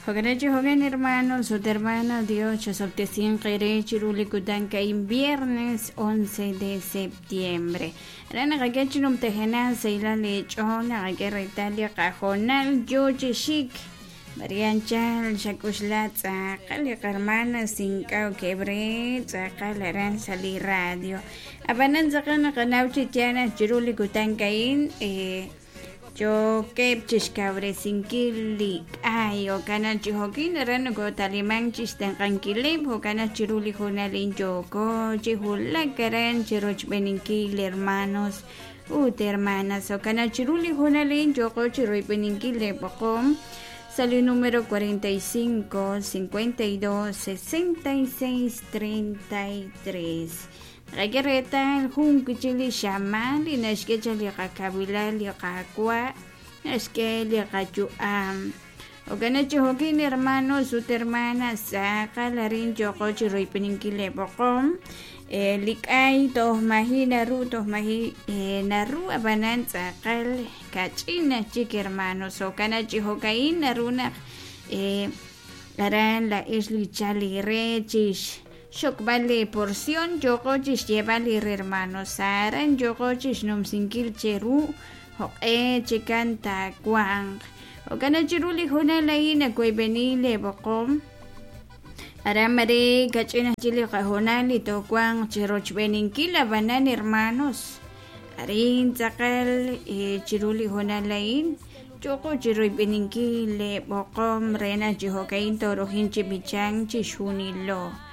Jo'kan chi jo'kan hermanos ut hermanas Dios chosob'tesinq eere chiru li kutan ka'in viernes 11 de septiembre. Aran naqak'e chi numtajenaq sahilal eech'ool naqak'e reetal li qahoonal yoo chi xik. Maria anchal xak'uxla tz'aqal li qarmanas ink'a' okeb' re tz'aqal aran sa' li radio. Ab'anan tz'aqal naqanaw chi yaal naq chiru li kutan ka'in yookeb' chixkawresinkil li k'ay jo'kan naq chi jo'kin aran nokotalimank chixtenq'ankileb' jo'kan naq chiru li hoonal a'in yooko chi wulak aran chirochb'eeninkil hermanos ut hermanas jo'kan naq chiru li hoonal a'in yooqo chiroyb'eninkil lee b'oqom sa' li numero 45 52 66 33 Naqak'e reetal jun wi' chik li xamaan li naxk'e chaq li qakawilal li Qaawa' naxk'e li qayu'am. Jo'kan naq chi jo'kin hermanos ut hermanas tz'aqal arin yooqo chi royb'eninkil lee b'oqom. Li k'ay toj maji' naru toj maji' naru ab'anan tz'aqal kach'in aj chik hermanos. Jo'kan naq chi jo'ka'in naru naq aran laa'ex li chal eere chix Xxokb'al lee porción yooqo chixyeeb'al li hermanos aran yooqo chixnumsinkil cheru jo'q'e chikan taawanq. Jo'kan naq chiru li hoonal a'in nawoyb'eni lee b'oqom. Aran mare kach'in aj chik li qahoonal li toowanq chirochb'eeninkil ab'anan hermanos arin tz'aqal chiru li hoonal a'in yooqo chiroyb'eninkil lee b'oqom re naq chi jo'ka'in toorojin chi b'ichank chixjunilo.